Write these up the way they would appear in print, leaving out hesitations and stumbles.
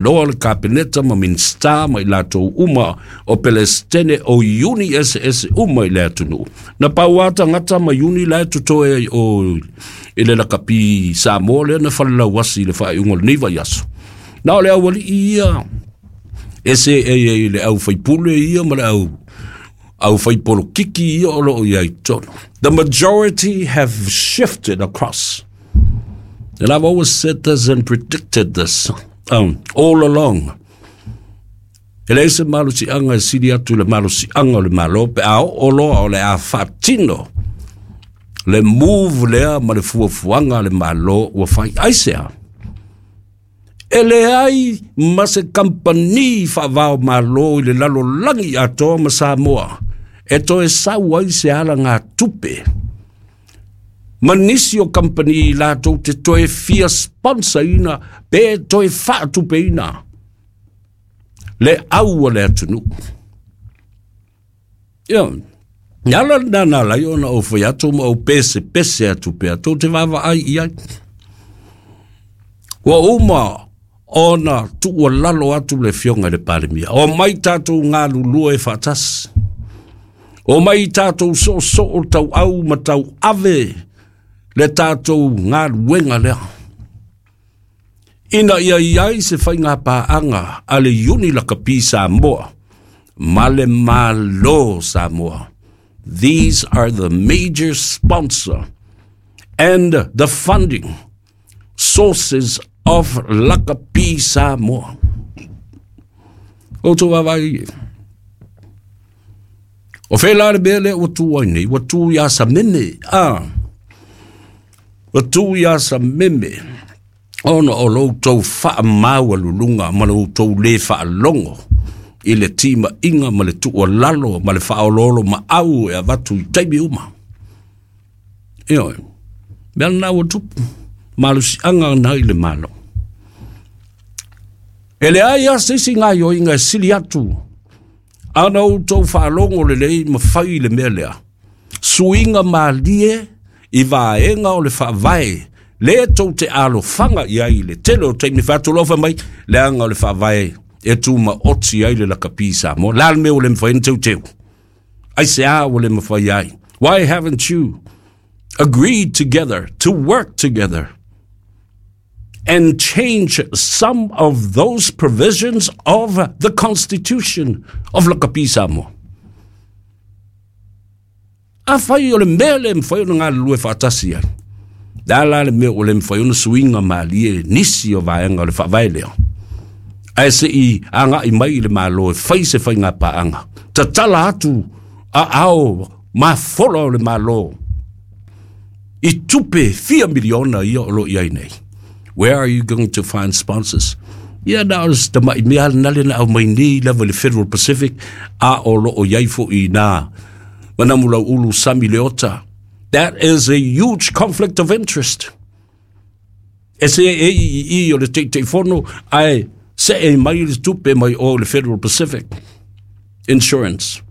Loa le Kapeneta ma Minisita ma i latou uma o Pelesitene o iuni eseese uma i le atunuu. Na pau lava tagata ma iuni la e totoe ai o i le lakapi Samoa lea na falelauasi i le faaiuga o lenei vaiaso. Na o le aualii ia e seei ai i le au faipule ia ma le au au faipolokiki ia o lo o i ai totonu. The majority have shifted across. And I've always said this and predicted this all along. E leai se malosiaga e sili atu i le malosiaga o le Malo pe a oo loa o le a faatino le move lea ma le fuafuaga a le Malo ua fai. Aisea? E leai ma se kamupani faava-o-Malo i le lalolagi atoa ma Samoa e toe sau ai se alagatupe ma nisi o kamupani latou te toe fia sponsor-ina pe toe faatupeina le au a le atunuu. Ia, le ala lena na ala ai ona ou fai atu ma ou pesepese atu pea, tou te vaavaai i ai. Ua uma ona tuualalo atu le Afioga i le Palemia, omai tatou galulue faatasi, omai tatou soosoo tauau ma tauave le tatou galuega lea, ina ia i ai se faigapaaga a le Iuni Lakapi Samoa ma le Malo Samoa. These are the major sponsor and the funding sources of Lakapi Samoa. Outou vaavaai, o fea la le mea lea ua tu ai nei? Ua tu iā Sameme, a ua tu iā Sameme ona o lo outou faamaualuluga ma lo outou lē faalogo i le timaiga ma le tuualalo ma le faaoloolomaau e avatu i taimi uma. Ioe, mea lena ua tupu, malosiaga na i le Malo. E leai lava se isi gaoioiga e sili atu ana outou faalogo lelei ma fai le mea lea. Suiga malie i vaega o le faavae le tou te alofaga i ai i le tele o taimi fai atu loa fai mai leaga o le faavae e tumaoti ai le lakapi Samoa. Le a le mea ua le mafai ona teuteu? Aisea ua le mafai ai? Why haven't you agreed together to work together and change some of those provisions of the Constitution of Lakapi Samoa? Afai o le mea le mafai ona galulue faatasi ai, le a la le mea ua le mafai ona suiga malie nisi o vaega o le faavae lea, ae se i agai mai i le Malo e fai se faigapaaga, tatala atu aao mafola o le Malo i tupe fia miliona ia o lo o i ai nei. Where are you going to find sponsors? Ia na o se tamai mea lena le na aumai nei lava i le Federal Pacific, a o lo o i ai foi nā Manamulauulu Sami Leota. That is a huge conflict of interest. E se e i i i o le Taitaifono ae see mai le tupe mai o le Federal Pacific Insurance.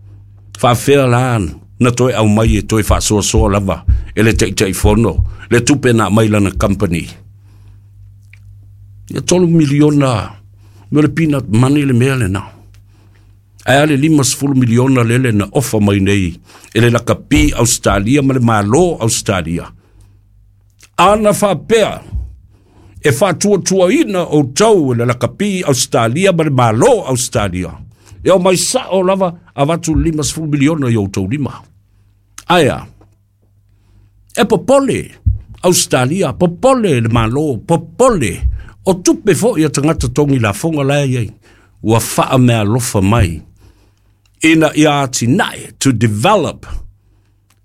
Faafefea la na toe aumai e toe faasoasoa lava e le Taitaifono le tupe na aumai lana company. Ia 3 miliona me le peanut money le mea lena. Ae a le 50 miliona lele na ofa mai nei e le lakapi Ausetalia ma le Malo Ausetalia. Ana faapea e faatuatuaina outou e le lakapi Ausetalia ma le Malo Ausetalia, e omai sao lava avatu le 50 miliona i outou lima. Ae a? E popole Ausetalia, popole le Malo, popole o tupe foi a tagata togi lafoga la e i ai, ua faameaalofa mai ina ia atinae to develop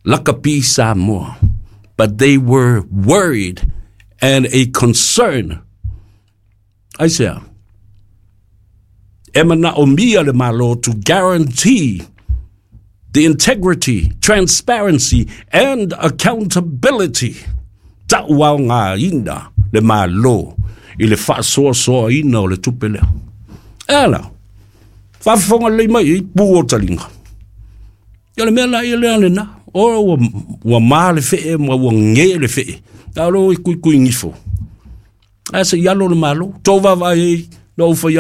Lakapi Samoa. But they were worried and a concern. Aisea? E manaomia le Malo to guarantee the integrity, transparency and accountability. Tauaogaina le Malo i le faasoasoaina o le tupe lea. E ala, faafofoga lelei mai i pū o taliga. Ia o le mea la ia lea lena. O ua, ua ma le fee ma ua ge le fee. A o lea ua kuikui gifo. Ae se i alo le Malo. Tou vaavaai ai Na ou fai